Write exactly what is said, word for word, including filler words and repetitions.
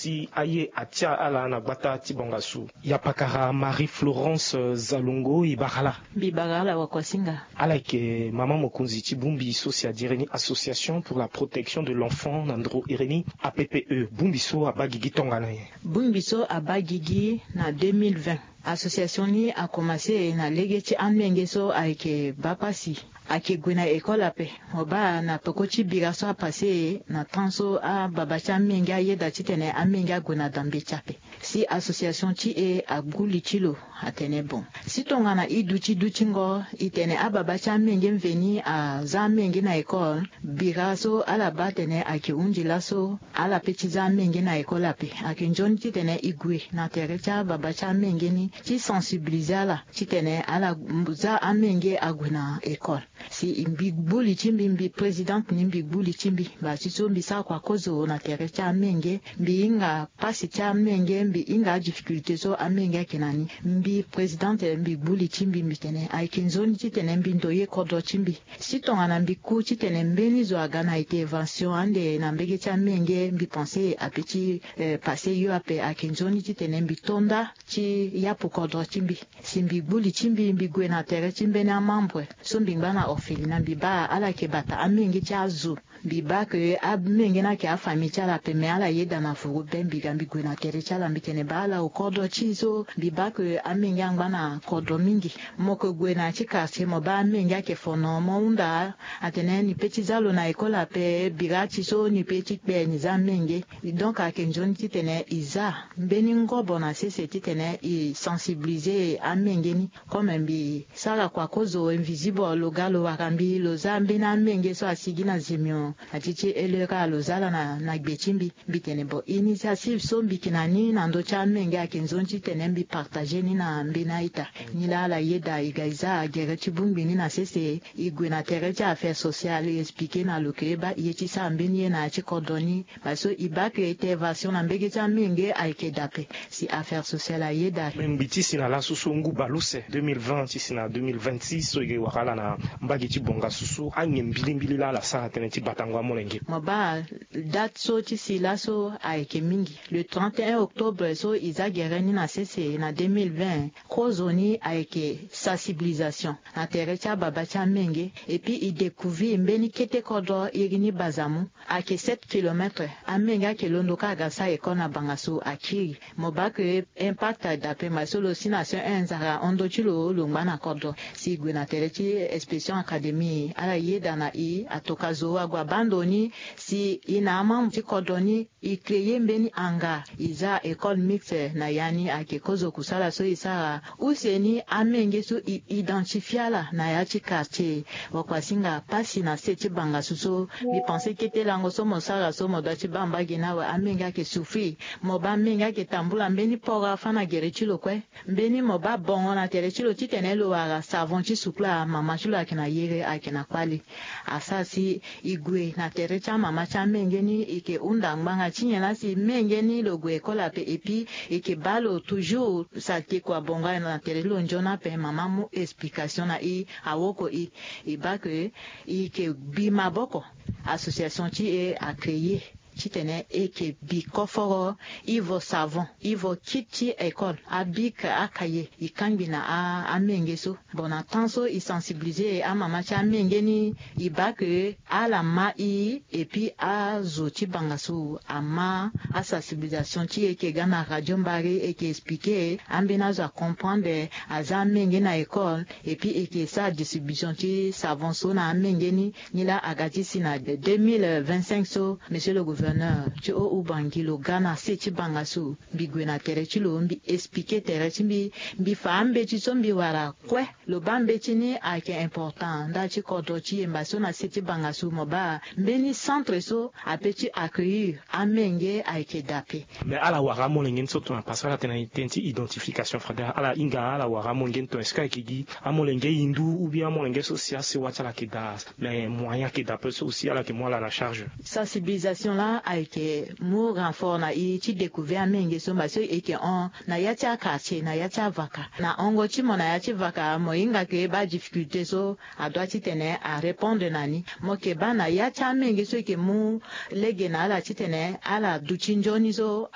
si aye atia ala na gbata ti bongasu. Yapakara Marie Florence Zalongo, e bara ala. Mbi bara ala wakuasinga. Ala yeke mama mokonzi ti bongbi so si adiri ni Association pour la protection de l'enfant na ndro iri ni, A P P E. Bongbi so abaa gigi tongana nyen? Bongbi so abaa gigi na deux mille vingt. Association ni akomanse na lege ti amenge so ayeke baa pasi, ayeke gue na école ape. Mo baa na peko ti bira so apase na temps so ababa ti amenge ayeda titene amenge ague na da mbeti ape. Si association ti e agbu li ti lo, atene bon, si tongana e duti dutingo, e tene ababa ti amenge mveni aza amenge na école, bira so ala baa atene ayeke hunzi laso, ala pe ti za amenge na école ape. Ayeke nzoni titene e gue na tere ti ababa ti amenge ni ti sensibiliser ala titene ala za amenge ague na école. Si mbi gbu li ti mbi, mbi présidente ni, mbi gbu li ti mbi, baa ti so mbi sara kua kozo na tere ti amenge. Mbi hinga pasi ti amenge, mbi hinga adifficulté so amenge ayeke na ni. Mbi présidente, mbi gbu li ti mbi, mbi tene ayeke nzoni titene mbi ndoye kodro ti mbi. Si tongana mbi ku titene mbeni zo aga na intervention ande na mbege ti amenge, mbi pense ape ti, eh, pase yo ape. Ayeke nzoni titene mbi to nda ti yapu kodro ti mbi. Si mbi gbu li ti mbi, mbi gue na tere ti mbeni amembre so mbi ngba na orphelina, mbi baa ala yeke bata amenge ti azo. Mbi baa ke amenge ni ayeke afamille ti ala ape, me ala yeda na vuru be. Mbi ga mbi gue na tere ti ala, mbi tene baa ala okodro ti e so. Mbi baa ke amenge angba na kodro mingi. Mo yeke gue na ya ti quartier, mo baa amenge ayeke fono, mo hunda atene ni pe ti za lo na école ape, bira ti so ni pe ti kpe ni za amenge. Donc ayeke nzoni titene e za mbeni ngobo na sese titene e sensibiliser amenge ni. Comme mbi sara kua kozo invisible, lo ga lo wara mbi, lo za mbeni amenge so asigi na zimio na ti ti elera, lo za ala na, na gbe ti mbi. Mbi tene bon, initiative so mbi yeke na ni na ndö ti amenge ayeke nzoni titene mbi partager ni na mbeni a-ita. Nilaa ala yeda, e ga e za gere ti bongbi ni na sese. E gue na tere ti affaire sociale, e expliquer na lo ke e baa e ye ti sara mbeni ye na ya ti kodro ni. Parce que e baa ke intervention na mbege ti amenge ayeke dape. Si affaire sociale ayeda. Me ngbi ti si na laso so ngu bale use, deux mille vingt ti si na deux mille vingt-six so e wara ala na mbage ti bongasu so, anyen mbilimbili laa ala sara tënë ti batango amolenge? Mo baa date so ti si laso ayeke mingi. Le trente et un octobre so e za gere ni na sese na deux mille vingt, kozo ni ayeke sensibilisation na tere ti ababa ti amenge. Et puis e découvrir mbeni kete kodro iri ni Bazamu. Ayeke sept kilomètres. Amenge ayeke londo kâ aga sara école na banga so akiri. Mo baa ke impact aye dape, ma so lo si na C E un Nzara hon ndo ti lo, lo ngba na kodro. Si e gue na tere ti inspection académie, ala yeda na e, atoka zo ague abaa ndo ni. Si e na amembre ti kodro ni, e créer mbeni hangar, e za école mixte na ya ni. Ayeke kozo kusala so e sara. Use ni amenge so e identifier ala na ya ti quartier. Wakuasinga, pasi na se ti bangasu so. Mbi pense kete lango so mo sara so, mo doit ti baa mbage ni awe. Amenge ayeke souffrir. Mo baa amenge ayeke tambula mbeni poro afâ na gere ti lo kue. Mbeni mo baa bongo na tere ti lo titene lo wara savon ti sukula, mama ti lo ayeke na yere, ayeke na kpale. Asara si e gue na tere ti amama ti amenge ni, e yeke hunda ngbanga ti nyen laa si menge ni lo gue école ape, et puis e yeke baa lo toujours saleté kua bongo na tere ti lo nzoni ape. Mama mu explication na e, awoko e. E baa ke e yeke bi maboko. Association ti e a créer titene e yeke bi koforo, ivo savon, ivo kit ti école, abic, acahier, e kangbi na a, amenge so. Bon, na temps so e sensibiliser amama ti amenge ni, e baa ke ala ma e, et puis azo ti bangasu ama asensibilisation ti e, e yeke ga na radio Mbare, e yeke expliquer, ambeni azo acomprendre, aza amenge na école, et puis e yeke sara distribution ti savon so na amenge ni. Nilaa aga ti si na deux mille vingt-cinq so, monsieur le gouverneur ti Haut-Oubangui lo ga na se ti bangasu. Mbi gue na tere ti lo, mbi expliquer tere ti mbi, mbi fa ambeti so mbi wara kue. Lo baa mbeti ni ayeke important ndali ti kodro ti yemba so na se ti bangasu. Mo baa mbeni centre so ape ti accueillir amenge ayeke dape. Mais ala wara amolenge ni so tongana, parce que ala tene na tënë ti identification fraternelle, ala hinga ala wara amolenge ni tongana, est-ce que ayeke gi amolenge hindu ou bien amolenge so si asewa ti ala ayeke daa? Mais moyen ayeke daa ape so aussi ala yeke mu ala na charge. Sensibilisation laa ayeke mu renfort na e ti découvrir amenge so, mba so e yeke hon na ya ti aquartier, na ya ti avaka. Na hongo ti mo na ya ti vaka, mo hinga ke baa difficulté so adoit titene arépondre na ni. Mo yeke baa na ya ti amenge so e yeke mu lege na ala titene ala duti nzoni so